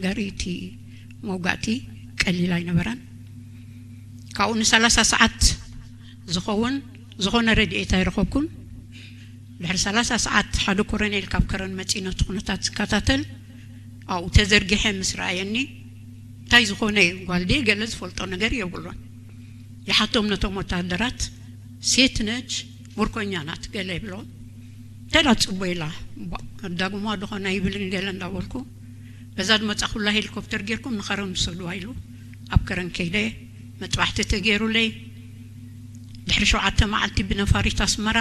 ገሪቲ መውጋእቲ ቀሊል ኣይነበረን። ካብኡ ንሰላሳ ሰዓት ዝኸውን ዝኾነ ረድኤት ኣይረኸብኩን። ድሕሪ ሰላሳ ሰዓት ሓደ ኮረኔል ካብ ከረን መጺኡ ነቲ ኩነታት ዝከታተል ኣብኡ ተዘርጊሐ ምስ ረኣየኒ፣ እንታይ ዝኾነ እዩ? ጓል ድየ? ገለ ዝፈልጦ ነገር የብሉን። ይሓቶም ነቶም ወታደራት፣ ሴት ነች፣ ምርኮኛ ናት ገለ ይብሎም። ተዳ ጽቦ ኢላ፣ ዳግሞ ኣድኾና ይብልን ገለ እንዳበልኩ፣ በዛ ዝመጻኹላ ሄሊኮፕተር ጌርኩም ንኸረን ውሰድዋ ኢሉ ኣብ ከረን ከይደ። መጥባሕቲ ተገይሩለይ። ድሕሪ ሸውዓተ መዓልቲ ብነፋሪት ኣስመራ፣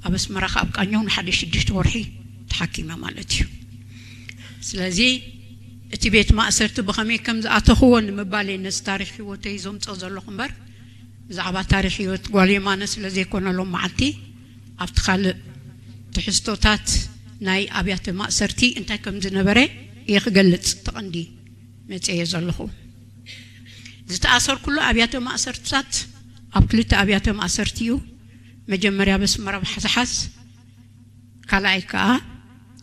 ኣብ ኣስመራ ካብ ቃኘው ንሓደ ሽዱሽተ ወርሒ ተሓኪመ ማለት እዩ። ስለዚ እቲ ቤት ማእሰርቲ ብኸመይ ከም ዝኣተኽዎ ንምባል እየ ነዚ ታሪኽ ህይወተይ ዘምጾ ዘለኹ እምበር፣ ብዛዕባ ታሪኽ ህይወት ጓል የማነ ስለ ዘይኮነ ሎም መዓልቲ ኣብቲ ካልእ ትሕዝቶታት ናይ ኣብያተ ማእሰርቲ እንታይ ከም ዝነበረ እየ ክገልጽ ተቐንዲ መጽየ ዘለኹ። ዝተኣሰርኩሉ ኣብያተ ማእሰርትታት ኣብ ክልተ ኣብያተ ማእሰርቲ እዩ። መጀመርያ በስመራ ብሓዝሓዝ፣ ካልኣይ ከኣ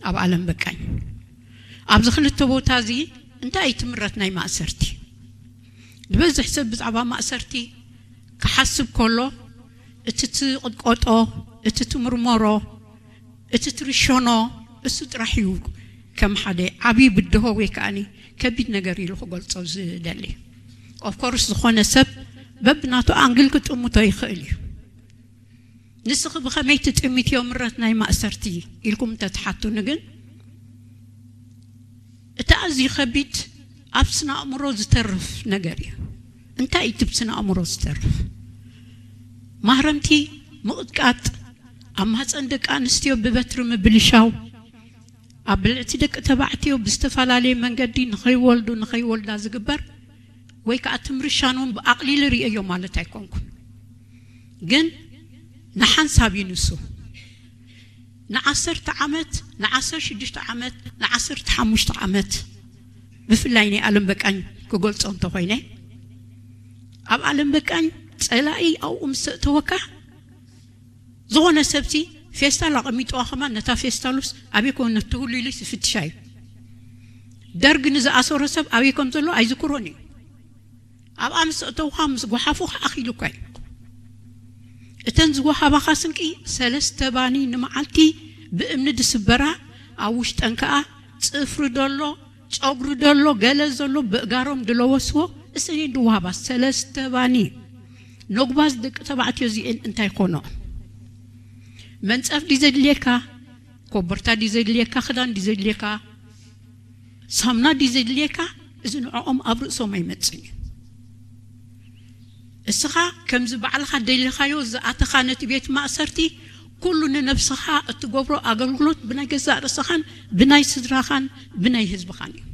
ኣብ ኣለም በቃኝ። ኣብዚ ክልተ ቦታ እዚ እንታይ እዩ ትምረት ናይ ማእሰርቲ? ዝበዝሕ ሰብ ብዛዕባ ማእሰርቲ ክሓስብ ከሎ፣ እቲ ትቕጥቀጦ፣ እቲ ትምርመሮ፣ እቲ ትርሸኖ፣ እሱ ጥራሕ እዩ ከም ሓደ ዓብዪ ብድሆ ወይ ከዓኒ ከቢድ ነገር ኢሉ ክገልጾ ዝደሊ። ኦፍኮርስ ዝኾነ ሰብ በብናቱ ኣንግል ክጥምቶ ይኽእል እዩ። ንስኺ ብኸመይ ትጥምትዮ ምረት ናይ ማእሰርቲ ኢልኩም እንተትሓቱኒ ግን፣ እቲ ኣዝዩ ከቢድ ኣብ ስነ ኣእምሮ ዝተርፍ ነገር እዩ። እንታይ እዩ እቲ ብስነ ኣእምሮ ዝተርፍ? ማህረምቲ ምቕጥቃጥ፣ ኣብ ማህፀን ደቂ ኣንስትዮ ብበትሪ ምብልሻው፣ ኣብ ብልዕቲ ደቂ ተባዕትዮ ብዝተፈላለየ መንገዲ ንኸይወልዱ ንኸይወልዳ ዝግበር ወይ ከዓ ትምርሻኖም ብኣቕሊል ርእዮ ማለት ኣይኮንኩን፣ ግን ንሓንሳብ እዩ ንሱ። ንዓሰርተ ዓመት፣ ንዓሰርተ ሽዱሽተ ዓመት፣ ንዓሰርተ ሓሙሽተ ዓመት፣ ብፍላይ ናይ ኣለም በቃኝ ክገልጾ እንተኾይነ፣ ኣብ ኣለም በቃኝ ጸላኢ ኣብኡ ምስ ኣእተወካ፣ ዝኾነ ሰብሲ ፌስታል ኣቐሚጥዋ ከማን ነታ ፌስታሉስ ኣበይ ኮን ትህሉ ኢሉ ይፍትሻ እዩ። ደርግ ንዝኣሰሮ ሰብ ኣበይ ከም ዘሎ ኣይዝክሮን እዩ። ኣብኣ ምስ ኣእተውኻ ምስ ጓሓፉኻ ኣኺሉካ እዩ። እተን ዝወሃባኻ ስንቂ ሰለስተ ባኒ ንመዓልቲ ብእምኒ ድስበራ፣ ኣብ ውሽጠን ከኣ ጽፍሪ ደሎ፣ ጨጉሪ ደሎ፣ ገለ ዘሎ ብእጋሮም ድለወስዎ እሰን ድወሃባ ሰለስተ ባኒ። ነጉባዝ ደቂ ተባዕትዮ እዚኤን እንታይ ኮኖ? መንጸፍ ድዩ ዘድልየካ? ኮበርታ ድዩ ዘድልየካ? ክዳን ድዩ ዘድልየካ? ሳምና ድዩ ዘድልየካ? እዚ ንዕኦም ኣብ ርእሶም ኣይመጽን እዩ። እስኻ ከምዚ ባዕልኻ ደሊኻዮ ዝኣተኻ ነቲ ቤት ማእሰርቲ፣ ኩሉ ንነብስኻ እትገብሮ ኣገልግሎት ብናይ ገዛእ ርእስኻን ብናይ ስድራኻን ብናይ ህዝብኻን እዩ።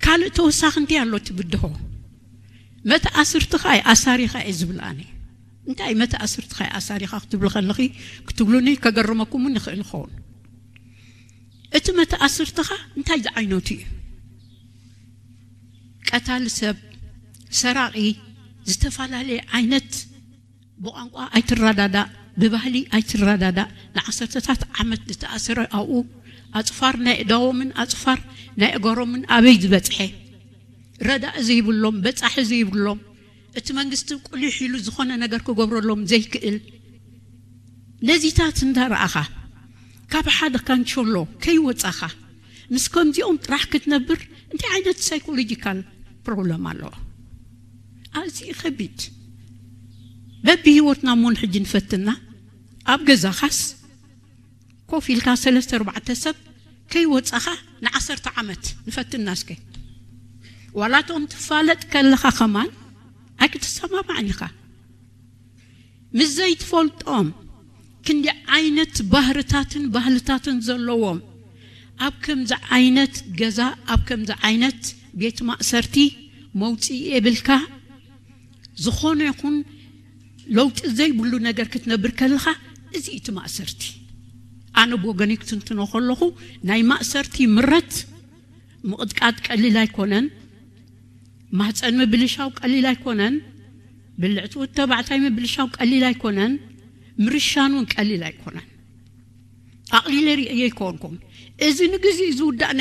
ካልእ ተወሳኺ እንታይ ኣሎ? እቲ ብድሆ መተኣስርትኻ እየ ኣሳሪኻ እየ ዝብል ኣነ። እንታይ መተኣስርትኻ እየ ኣሳሪኻ ክትብሉ ከለኺ ክትብሉኒ ከገርመኩም እውን ይኽእል ይኸውን። እቲ መተኣስርትኻ እንታይ ዝዓይነቱ እዩ? ቀታሊ ሰብ፣ ሰራቒ፣ ዝተፈላለየ ዓይነት፣ ብቋንቋ ኣይትረዳዳእ፣ ብባህሊ ኣይትረዳዳእ። ንዓሰርተታት ዓመት ዝተኣሰረ ኣብኡ ኣጽፋር ናይ እዳዎምን ኣጽፋር ናይ እገሮምን ኣበይ ዝበጽሐ? ረዳእ ዘይብሎም፣ በጻሒ ዘይብሎም፣ እቲ መንግስቲ ቁሊሕ ኢሉ ዝኾነ ነገር ክገብረሎም ዘይክእል። ነዚታት እንዳረኣኻ ካብ ሓደ ካንቸሎ ከይወጻኻ ምስ ከምዚኦም ጥራሕ ክትነብር እንታይ ዓይነት ሳይኮሎጂካል ፕሮብለም ኣለዎ? ኣዝዩ ከቢድ። በብህይወትና እሞ ንሕጂ ንፈትና። ኣብ ገዛኻስ ኮፍ ኢልካ ሰለስተ ኣርባዕተ ሰብ ከይወጻኻ ንዓሰርተ ዓመት ንፈትና እስከ። ዋላ እቶም ትፋለጥ ከለኻ ከማን ኣይክትሰማማዕን ኢኻ። ምስ ዘይትፈልጦም ክንዲ ዓይነት ባህርታትን ባህልታትን ዘለዎም ኣብ ከምዚ ዓይነት ገዛ፣ ኣብ ከምዚ ዓይነት ቤት ማእሰርቲ መውፅኢ የብልካ። ዝኾነ ይኹን ለውጢ ዘይብሉ ነገር ክትነብር ከለኻ፣ እዚ እቲ ማእሰርቲ። ኣነ ብወገነይ ክትንትኖ ከለኹ ናይ ማእሰርቲ ምረት ምቕጥቃጥ ቀሊል ኣይኮነን። ማህፀን ምብልሻው ቀሊል ኣይኮነን። ብልዕቲ ወዲ ተባዕታይ ምብልሻው ቀሊል ኣይኮነን። ምርሻን እውን ቀሊል ኣይኮነን። ኣቕሊለ ርእየ ኣይኮንኩም። እዚ ንግዜ ዝውዳእ